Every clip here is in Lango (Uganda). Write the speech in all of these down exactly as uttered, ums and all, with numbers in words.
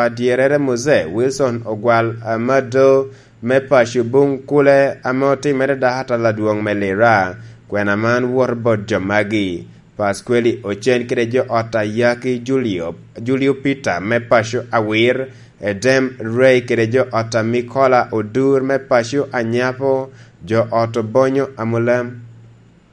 Dyerrere Mose Wilson Ogwal Amado me paco Bunkule ame otimere dakatal adwoŋ me Lira. Kwena man woto bot jo magi: Pasqueli Ocen kede jo ot a Yaki Julio, Julio Peter me paco Awir, Edem Ray kede jo ot a Mikola Odur me paco Anyapo, jo ot Obonyo Amulam,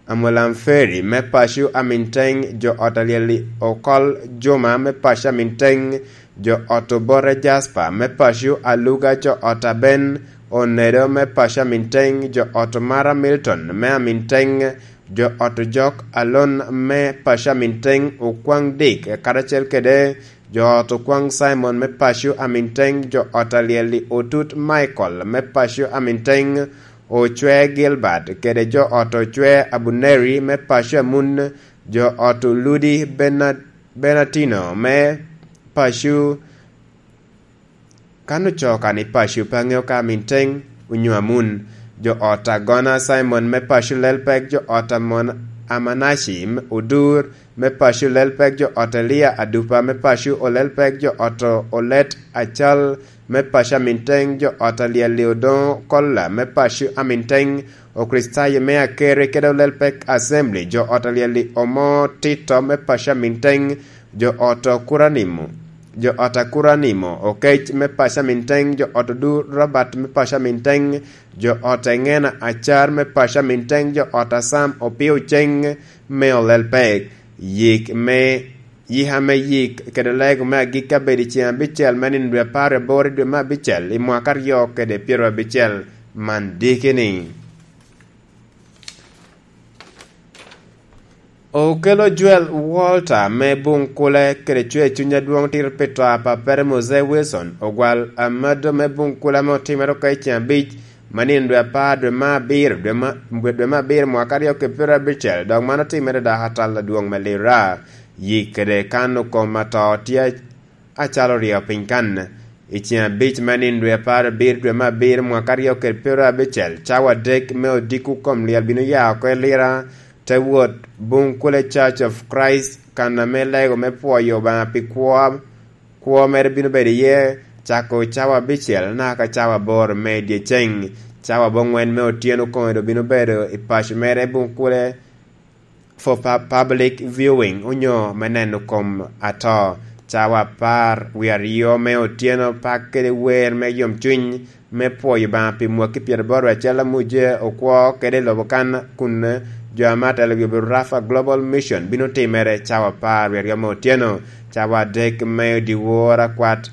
Amulam Ferry me paco Aminteng, jo ot a Lyeli Okol Juma me paco Aminteng, jo ot Obote Jasper me paco Aluga, jo ot a Ben Onedo me paco Aminteng, jo ot Mara Milton me Aminteng, jo ot Jok Alon me paco Aminteng, Okwaŋ Dik karacel kede jo ot Okwaŋ Simon me paco Aminteng, jo ot a Lyeli Otut Michael me paco Aminteng, Ocwe Gilbert kede jo ot Ocwe Abuneri me paco Amun, jo ot Oludi Bena-, Benatino me paco. Kan ocoo kan i paco pe aŋeo ka Aminteng onyo Amun, jo ot Agona Simon me paco Lelpek, jo ot Amon-, Amanaci Odur me paco Lelpek, jo ot Elia Adupa me paco Olelpek, jo ot Olet Acal me paco Aminteng, jo ot Alyeli Odoŋo Kolla me paco Aminteng, Okricitayo me Akere kede Olelpek Assembly, jo ot Alyeli Omo Tito me paco Aminteng, jo ot Kuranimo, jo ot Akuranimo Okec me paco Aminteng, jo ot Odur Robert me paco Aminteng, jo ot Eŋena Acar me paco Aminteng, jo ot Asam Opio Ceng me Olelpek. Yik me, yika me yik kede lego me agikki abedo i ceŋ abicel me nino dwe apar aboro i dwe me abicel i mwaka aryo kede pyero abicel. Man diki ni, Okelo Joel Walter me Bunkule kede cwer cuny adwoŋ tito pi to a pappere Mose Wilson Ogwal Amado me Bunkule ame otimere oko i ceŋ abic me nino dwe apar dwe me abiro, dwe me, dwe me abiro mwaka aryo kede pyero abicel, dok man otimere dok atal adwoŋ me Lira. Yik kede kano kom ato tye acalo oryo piny kan. I ceŋ abic me nino dwe apar abiro dwe me abiro mwaka aryo kede pyero abicel, cawa adek me odiko kom lyel bino ya oko i Lira, te wot Bunkule Church of Christ, kan ame lego me pwoyo Obaŋa pi kwo, kwo mere bino bedo iye, cako cawa abicel naka cawa aboro me dyeceŋ. Cawa aboŋwen me otyeno kome doŋ bino bedo i paco mere Bunkule for pu-, public viewing onyo me neno kom ato. Cawa apar wie aryo me otyeno, pak kede wer me yomcuny me pwoyo Obaŋa pi mwaki pyeraboro acel amuje okwo kede i lobo kan kun jo ame atelo wi Rafa Global Mission bino timere cawa apar wie aryo me otyeno. Cawa adek me dyewor akwat,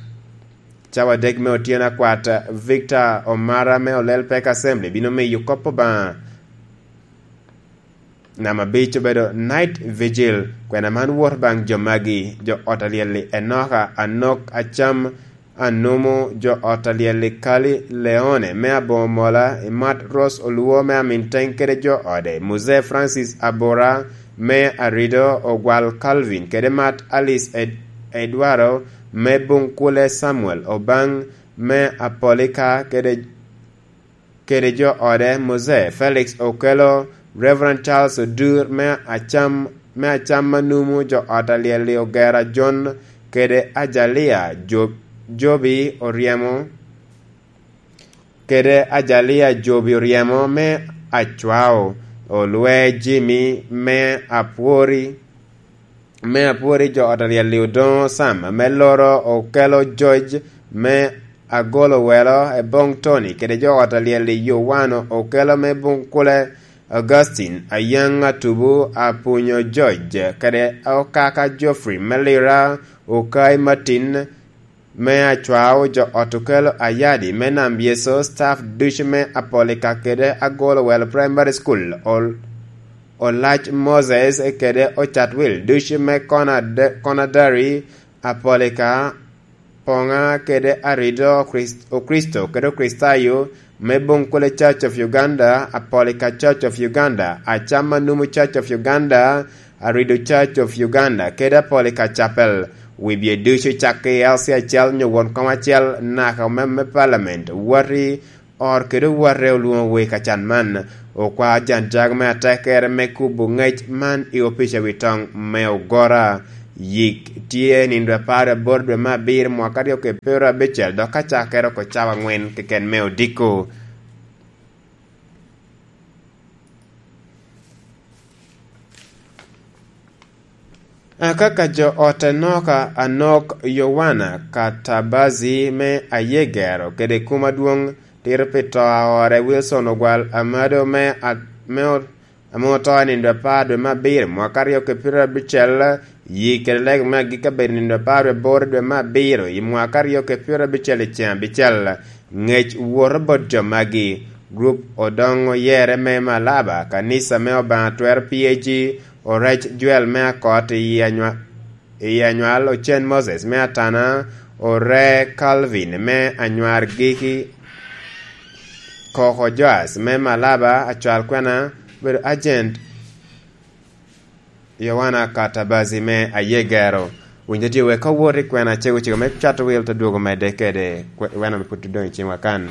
cawa adek me otyeno akwat, Victor Omara me Olel Pek Assembly bino miyo kop Obaŋa. Namba abic obedo Night Vigil. Kwena man wot baŋ jo magi: jo ot a Lyel-li Enoka Anok Acam Anumu, jo ot a Lyel-li Kali Leone me Aboŋo Mola, Imat Ros Oluo me Aminteng kede jo ode, Muzee Francis Abura me Arido, Ogwal Calvin kede Mat Alice Ed-, Edwaro me Bunkule, Samuel Obaŋ me Apolika kede kede jo ode, Mose Felix Okelo, Reverend Charles Odur me Acam, me Acam Anumu, jo ot a Lyel-li Ogera John, kede Ajalia Jo-, Jobi Oryemo, kede Ajalia Jobi Oryemo me Acwao, Olwe Jimmy me Apwori, me Apwori, jo ot a Lyel-li Odoŋo Sam me Loro, Okelo George me Agolo Welo, Eboŋ Tony kede jo ot a Lyel-li Yowano Okelo me Bunkule, Augustine Ayaŋ Atubu, Apunyo George kede Okaka Geoffrey me Lira, Okai Martin me Acwao, jo ot Okelo Ayadi me Nam Yeso, staff ducu me Apolika kede Agolo Welo Primary School, Ol-, Olac Moses kede Ocatwil ducu me Konad-, Konadari, Apolika, Poŋa kede Arido Okrist-, Okristo kede Okricitayo me Bunkule Church of Uganda, Apolika Church of Uganda, Acam Anumu Church of Uganda, Arido Church of Uganda, kede Apolika Chapel. Wibye ducu cakke i L C acel nyo won kom acel naka omem me Parliament, wati ot kede owatte olwoŋo wei ka can man. Okwa Jan Jago me atekere me kubo ŋec man i opic a wi toŋ me Ogora. Yik tye nino apar aboro dwe me abiro mwaka aryo ki pyerabicel, dok ka cakere oko cawa angwen keken me odiko. Akaka jo ot Anoka Anok Yowana Katabazi me Ayegero kede kum adwoŋ tito pi to a ore Wilson Ogwal Amado me a-, me o-, ame oto i nino apar dwe me abiro mwaka aryo ki pyerabicel, yi kede lega me agikki abedo i nino apar dwe aboro dwe me abiro i mwaka aryo ki pyerabicel i ceng abicel. Ngec woto bot jo magi. Grup Odoŋo Yere me Malaba, Kanisa me Obaŋa Twero P A G, Orec Joel me Akot i Anywa-, i Anywal, Ocen Moses me Atana, Ore Calvin me Anywar Giki, Koko Joas me Malaba, Acwal Kwena, obedo agent Yowana Katabazi me Ayegero. Winyo tye wek ka wot i kwena cego cego me cato wil te dwogo medde kede kwe-, wena me pwod doŋ i cingwa kan.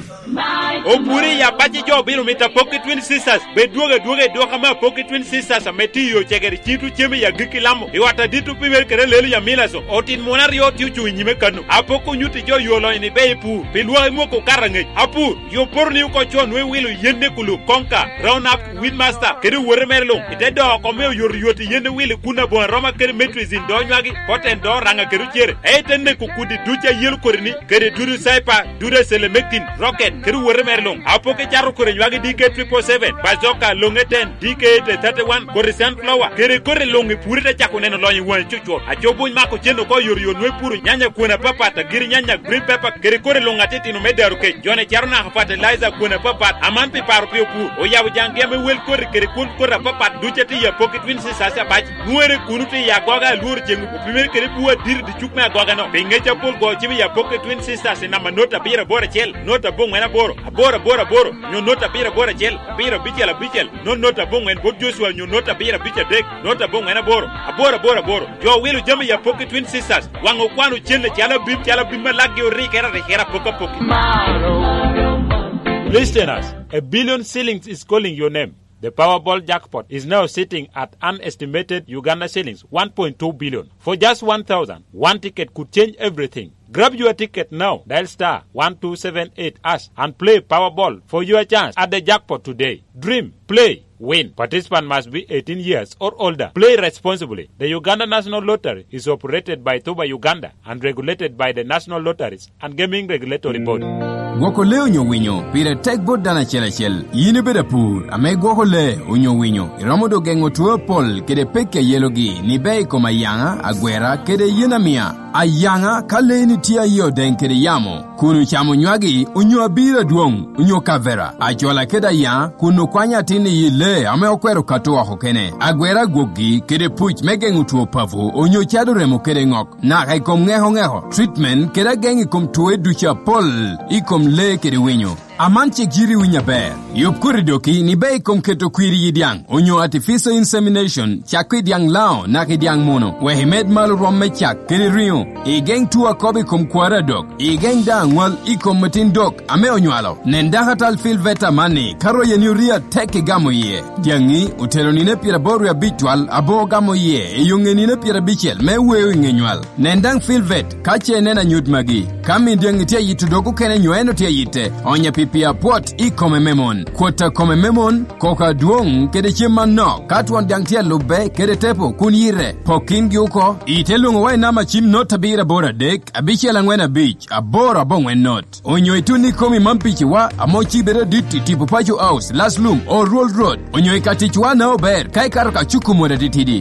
Opuri i abaci jo obino mito apok i Twin Sisters. Bed dwogo adwoga i dwok ame apok i Twin Sisters ame tye i yo cegere, cito cem i agikki lamo. I ot adit opimere kede lelo i Amilaso. Otin mon aryo tye ocuŋ i nyime kano. Apok onyutti jo yo lonyo ni be i pur. Pi lwak i mwoko okato angec. Apur, yo poto ni oko co nwe wilo yen ne kulu konka, Roundup, Weedmaster, kede owote mere luŋ. I te doo oko me oyotoyot i yen ne wilo kun aboŋo aroma kede metrizin doo nywagi, poten doo raŋa kede ocere. Ei te neko kudi duc a yelo kodi ni, kede dudu saipa, dudu a selemektin, rocket, kede owote mere luŋ. Apoke cato kodi nywagi D K triple seven, bazooka, loŋe ten, D K eight thirty-one, kodi sunflower, kede kodi luŋ i puri te cako neno lonyo i waŋi cucur. Aco buny mako cen oko oyotoyot nwe puro nyanya kwon apapat, agiri nyanya, green pepper, kede kodi luŋ atitino me daro kec. Jone caro naka fertilizer kwon apapat, aman pi paro pi opur. Oyabo jaŋgi ame wel kodi kede kwon kodi apapat duc atye i apoki Twin Sisters abac. Nwere kuno tye i agoga alworo ceŋ opimere kede bur adit i dicuk me agogano. Pi ŋec apol go cim i apoki Twin Sisters i namba not abiro aboro acel, not aboŋwen aboro, aboro aboro aboro, nyo not abiro aboro acel, abiro abicel abicel, not not aboŋwen bot Joshua nyo not abiro abic adek, not aboŋwen aboro, aboro aboro aboro. Jo wilo jami i apoki Twin Sisters, waŋ okwano cen acalo abim, calo abim ma lakgi orikere arikere apok apoki. Listeners, a billion shillings is calling your name. The Powerball jackpot is now sitting at an estimated Uganda shillings one point two billion. For just one thousand, one ticket could change everything. Grab your ticket now. Dial star one two seven eight hash and play Powerball for your chance at the jackpot today. Dream, play, win. Participant must be eighteen years or older. Play responsibly. The Uganda National Lottery is operated by Tuba Uganda and regulated by the National Lotteries and Gaming Regulatory Board. Gwoko lee onyo winyo pire tek bot dano acel acel. Yin ibedo apur ame gwoko lee onyo winyo, iromo dok geŋo two apol kede pekki a yelogi ni bea i kom ayaŋa, agwera, kede yen amia. Ayaŋa, ka leeni tye aye odeŋ kede yamo, kun ocamo nywagi onyo abiro adwoŋ, onyo kavera, acwala kede ayaŋa, kun okwanyo atin i yi lee ame okwero kato oko kene, agwera agwokgi kede puc me geŋo two papo, onyo cado remo kede ŋok, naka i kom ŋeko ŋeko, treatment kede ageŋ i kom twoe ducu apol i kom lee kede winyo. Aman cik yiti winyo aber. Yub koti doki ni bea i kom keto kwir i yi dyaŋ, onyo artificial insemination, cakko i dyaŋ lao naka i dyaŋ muno, wek imed malo rwom me cak kede riŋo. Igeŋ tuo akobo i kom kwaro adok. Igeŋ daŋ aŋwal i kom atin dok ame onywalo. Nen dakatal Phil Veta amanni, ka royeni orio atek igamo iye. Dyaŋi otero nino pyeraboro wie abic twal, abo ogamo iye i yo ŋe nino pyerabicel me weo i ŋe nywal. Nen daŋ Phil Vet ka ce ineno anyut magi. Ka min dyaŋi tye ayito dog okene nyo en otye ayitte, onye pi pii apwot i kome me mon. Kwot a kome me mon, koko adwoŋ kede cem manok, ka twon dyaŋ tye alubbe kede tepo kun yite, pok kingi oko. Ite lwoŋowa i namba cim not abiro aboro adek, abicel aŋwen abic, aboro aboŋwen not. Onyo itun ikomi man piciwa, ame ocibe adit i tipo Paco House, Laslum, Oruol Road. Onyo i ka ticwa na ober, ka ikato ka cuko mot atitidi.